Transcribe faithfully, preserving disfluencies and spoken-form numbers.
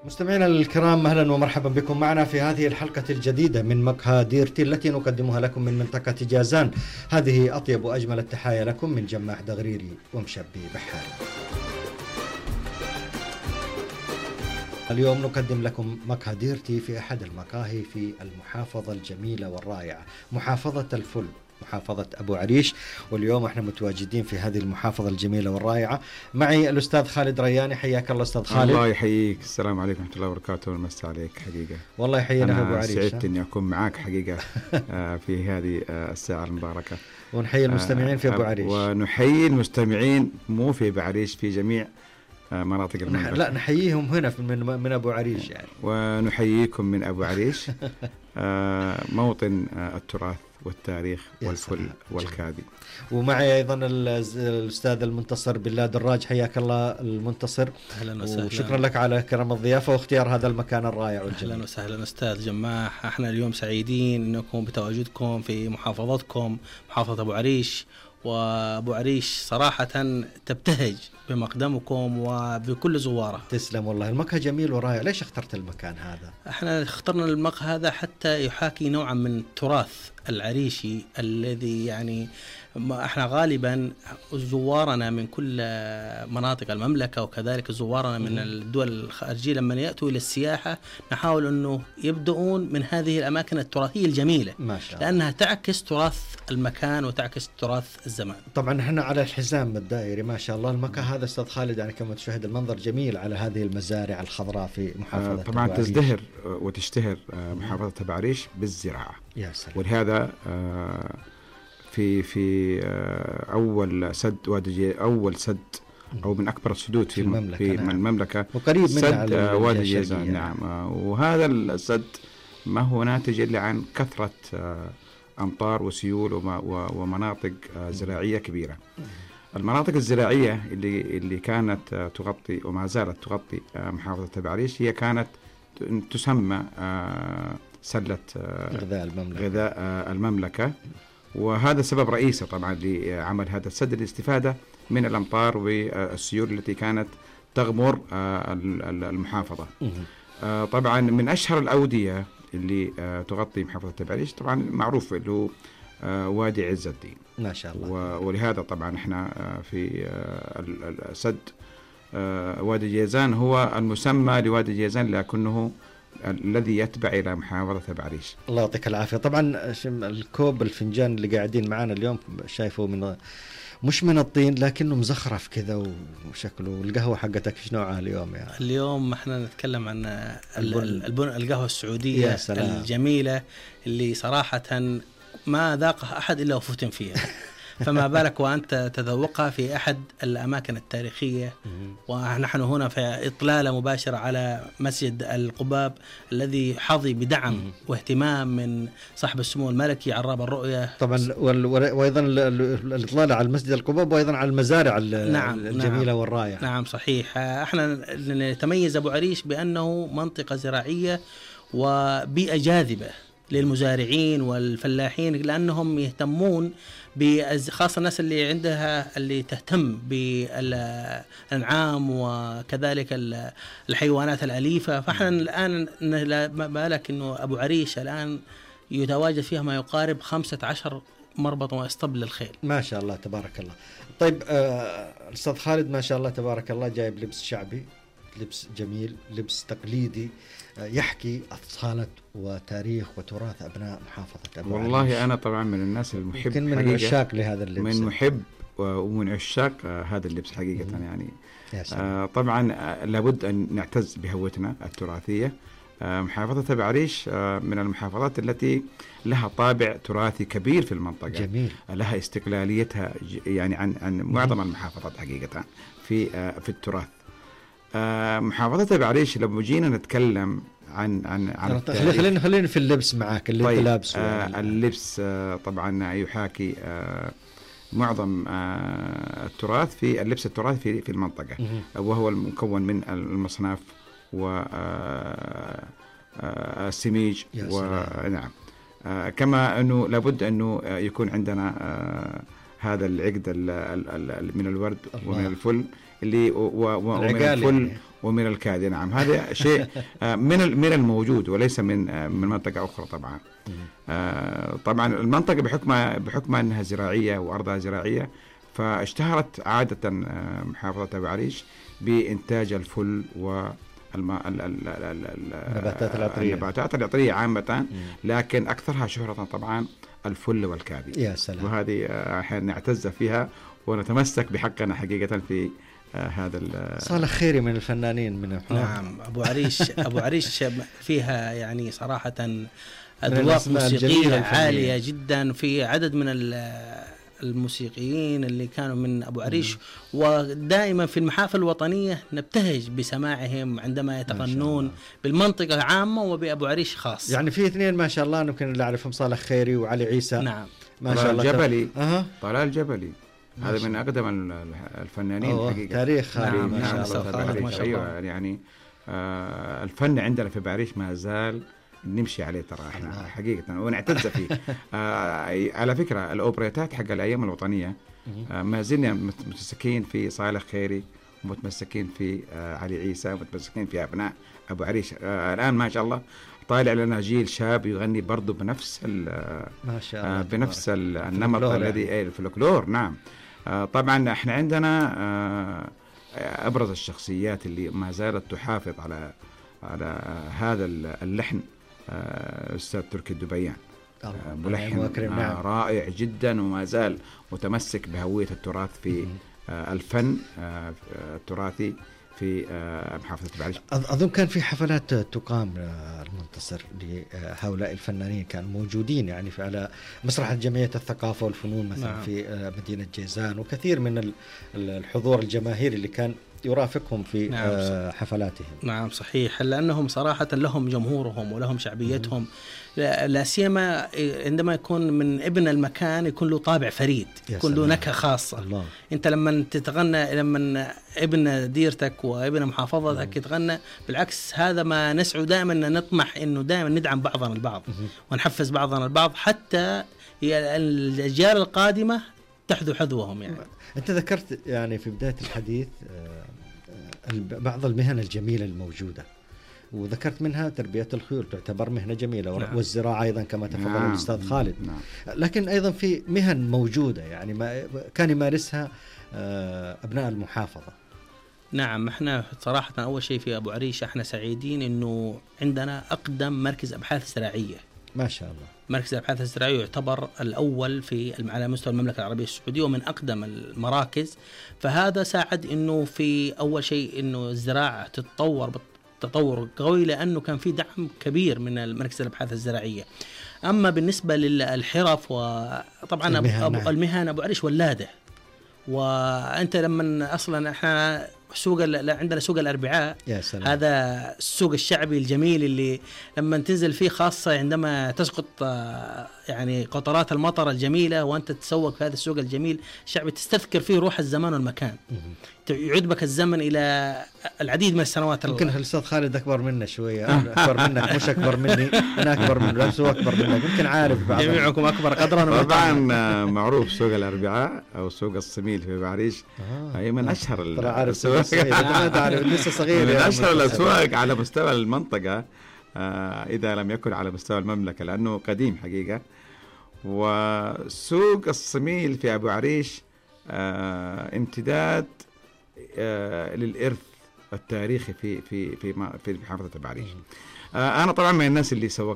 مستمعينا الكرام، أهلا ومرحبا بكم معنا في هذه الحلقة الجديدة من مقهى ديرتي التي نقدمها لكم من منطقة جازان. هذه أطيب وأجمل التحايا لكم من جماح دغريري ومشبي بحاري. اليوم نقدم لكم مقهى ديرتي في أحد المقاهي في المحافظة الجميلة والرائعة، محافظة الفل، محافظة أبو عريش. واليوم احنا متواجدين في هذه المحافظة الجميلة والرائعة. معي الأستاذ خالد رياني. حياك الله أستاذ خالد. الله يحييك. السلام عليكم ورحمة الله وبركاته. والمسا عليك حقيقة. والله يحيينا في أبو عريش. أنا سعدت إني أكون معاك حقيقة في هذه الساعة المباركة. ونحيي المستمعين في أبو عريش. ونحيي المستمعين مو في أبو عريش، في جميع مناطق المملكة. لا، نحييهم هنا من من أبو عريش يعني. ونحييكم من أبو عريش، موطن التراث والتاريخ والفل والكادي. ومعي أيضا الأستاذ المنتصر بالله دراج. حياك الله المنتصر. أهلا وسهلا. وشكرا لك على كرم الضيافة واختيار هذا المكان الرائع والجميل. أهلا وسهلا أستاذ جماح. احنا اليوم سعيدين أنكم بتواجدكم في محافظتكم، محافظة أبو عريش. وأبو عريش صراحة تبتهج بمقدمكم وبكل زواره. تسلم والله، المقهى جميل ورائع. ليش اخترت المكان هذا؟ احنا اخترنا المقهى هذا حتى يحاكي نوعا من التراث العريشي الذي يعني احنا غالبا زوارنا من كل مناطق المملكة وكذلك زوارنا من الدول الخارجية لما يأتوا إلى السياحة نحاول أنه يبدأون من هذه الأماكن التراثية الجميلة، ما شاء الله، لأنها تعكس تراث المكان وتعكس تراث الزمان. طبعا احنا على الحزام الدائري ما شاء الله. المكان هذا أستاذ خالد يعني كما تشاهد المنظر جميل على هذه المزارع الخضراء في محافظة آه طبعا تزدهر وتشتهر آه محافظة أبو عريش بالزراعة. يا سلام. ولهذا آه في في أول سد وادي أول سد أو من أكبر السدود في المملكة, في نعم. المملكة وقريب منها سد وادي جازان. نعم. وهذا السد ما هو ناتج إلا عن كثرة أمطار وسيول ومناطق زراعية كبيرة. المناطق الزراعية اللي اللي كانت تغطي وما زالت تغطي محافظة أبو عريش هي كانت تسمى سلة غذاء المملكة, غذاء المملكة. وهذا سبب رئيسي طبعا لعمل هذا السد، الاستفادة من الأمطار والسيول التي كانت تغمر المحافظة. طبعا من أشهر الأودية اللي تغطي محافظة أبو عريش طبعا معروف اللي هو وادي عز الدين ما شاء الله. ولهذا طبعا احنا في السد وادي جازان هو المسمى لوادي جازان لكنه الذي يتبع إلى محافظة أبو عريش. الله يعطيك العافية. طبعا الكوب الفنجان اللي قاعدين معانا اليوم شايفه من مش من الطين لكنه مزخرف كذا وشكله. والقهوة حقتك ايش نوعها اليوم يعني؟ اليوم احنا نتكلم عن البن القهوة السعودية الجميلة اللي صراحة ما ذاقها أحد إلا وفتن فيها. فما بالك وأنت تذوقها في أحد الأماكن التاريخية. ونحن هنا في إطلالة مباشرة على مسجد القباب الذي حظي بدعم واهتمام من صاحب السمو الملكي عراب الرؤية طبعا، وأيضا الإطلالة على مسجد القباب وأيضا على المزارع نعم الجميلة نعم والرائعة. نعم صحيح. احنا نتميز أبو عريش بأنه منطقة زراعية وبيئة جاذبة للمزارعين والفلاحين، لأنهم يهتمون خاصة الناس اللي عندها اللي تهتم بالأنعام وكذلك الحيوانات الأليفة. فإحنا الآن ما بالك إنه أبو عريش الآن يتواجد فيها ما يقارب خمسة عشر مربط واسطبل للخيل. ما شاء الله تبارك الله. طيب آه أستاذ خالد ما شاء الله تبارك الله جايب لبس شعبي، لبس جميل، لبس تقليدي يحكي أصالة وتاريخ وتراث أبناء محافظة أبو عريش. والله أنا طبعا من الناس المحب من عشاق لهذا اللبس، من محب ومن عشاق هذا اللبس حقيقة. يعني آه طبعا آه لابد أن نعتز بهويتنا التراثية. آه محافظة أبو عريش آه من المحافظات التي لها طابع تراثي كبير في المنطقة. جميل. لها استقلاليتها يعني عن عن معظم المحافظات حقيقة في آه في التراث. آه محافظة أبو عريش لما جينا نتكلم عن عن عن خلينا خلينا في اللبس معاك اللي طيب انت لابسه. آه اللبس آه طبعا يحاكي آه معظم آه التراث في اللبس التراثي في في المنطقة، وهو المكون من المصناف والسميج ونعم آه كما أنه لابد أنه يكون عندنا آه هذا العقد من الورد ومن الفل اللي ومن الفل ومن الكادي. نعم هذا شيء من من الموجود وليس من من منطقة أخرى طبعا. طبعا المنطقة بحكم بحكم أنها زراعية وأرضها زراعية، فاشتهرت عادة محافظة أبو عريش بإنتاج الفل والنباتات العطرية النباتات العطرية عامة، لكن أكثرها شهرة طبعا الفل والكادي. يا سلام. وهذه احنا نعتز فيها ونتمسك بحقنا حقيقة في آه هذا. صالح خيري من الفنانين من نعم أبو عريش أبو عريش فيها يعني صراحة أذواق موسيقية عالية جدا، في عدد من الموسيقيين اللي كانوا من أبو عريش، ودائما في المحافل الوطنية نبتهج بسماعهم عندما يتغنون بالمنطقة عامة وبأبو عريش خاص. يعني في اثنين ما شاء الله يمكن اللي أعرفهم صالح خيري وعلي عيسى. نعم ما شاء الله. الجبلي أه. طلال الجبلي هذا من أقدم الفنانين حقيقة. تاريخ نعم ما شاء الله. ما شاء الله. أيوة يعني آه الفن عندنا في بعريش ما زال نمشي عليه ترى احنا حقيقة ونعتز فيه. آه على فكرة الأوبريتات حق الأيام الوطنية آه ما زلنا متمسكين في صالح خيري، ومتمسكين في آه علي عيسى، ومتمسكين في أبناء أبو عريش. آه الآن ما شاء الله طالع لنا جيل شاب يغني برضو بنفس ما شاء الله آه بنفس النمط الذي يعني. الفلكلور. نعم آه طبعا احنا عندنا آه أبرز الشخصيات اللي ما زالت تحافظ على على هذا اللحن أستاذ تركي الدبيان، ملحن نعم. رائع جدا، وما زال متمسك بهوية التراث في الفن التراثي في محافظة بعريش. أظن كان في حفلات تقام المنتصر لهؤلاء الفنانين كانوا موجودين يعني في على مسرح جمعية الثقافة والفنون مثلا. نعم. في مدينة جيزان، وكثير من الحضور الجماهيري اللي كان يرافقهم في نعم. حفلاتهم. نعم صحيح، لأنهم صراحة لهم جمهورهم ولهم شعبيتهم، لا سيما عندما يكون من ابن المكان يكون له طابع فريد، يكون له نكهة خاصة. الله. أنت لما تتغنى، لما ابن ديرتك وابن محافظتك يتغنى، بالعكس هذا ما نسعى دائما نطمح إنه دائما ندعم بعضنا البعض ونحفز بعضنا البعض حتى الأجيال القادمة تحذو حذوهم. يعني أنت ذكرت يعني في بداية الحديث بعض المهن الجميلة الموجودة، وذكرت منها تربية الخيول تعتبر مهنة جميلة. نعم. والزراعة أيضا كما تفضل نعم. الأستاذ خالد. نعم. لكن أيضا في مهن موجودة يعني ما كان يمارسها أبناء المحافظة. نعم احنا صراحة أول شيء في أبو عريش احنا سعيدين إنه عندنا أقدم مركز أبحاث زراعية ما شاء الله. مركز الأبحاث الزراعية يعتبر الأول في على مستوى المملكة العربية السعودية ومن أقدم المراكز، فهذا ساعد إنه في أول شيء إنه الزراعة تتطور تطور قوي، لأنه كان في دعم كبير من المركز الأبحاث الزراعية. أما بالنسبة للحرف وطبعا المهن, أبو المهن أبو عريش ولادة، وأنت لما أصلا إحنا سوق عندنا سوق الأربعاء، هذا السوق الشعبي الجميل اللي لما تنزل فيه، خاصة عندما تسقط يعني قطرات المطر الجميلة وأنت تتسوق في هذا السوق الجميل الشعبي، تستذكر فيه روح الزمان والمكان، يعود بك الزمن إلى العديد من السنوات. يمكن الأستاذ خالد أكبر منا شوية، أكبر منك مش أكبر مني، أنا أكبر منه بس هو أكبر منك، يمكن عارف بعض جميعكم أكبر قدرا. طبعا معروف سوق الأربعاء أو سوق الصميل في بعريش هي من أشهر الأسواق، لسه صغير، من أشهر الأسواق على مستوى المنطقة إذا لم يكن على مستوى المملكة، لأنه قديم حقيقة. وسوق الصميل في أبو عريش امتداد للإرث التاريخي في في في في محافظة أبو عريش. أنا طبعا من الناس اللي سوقت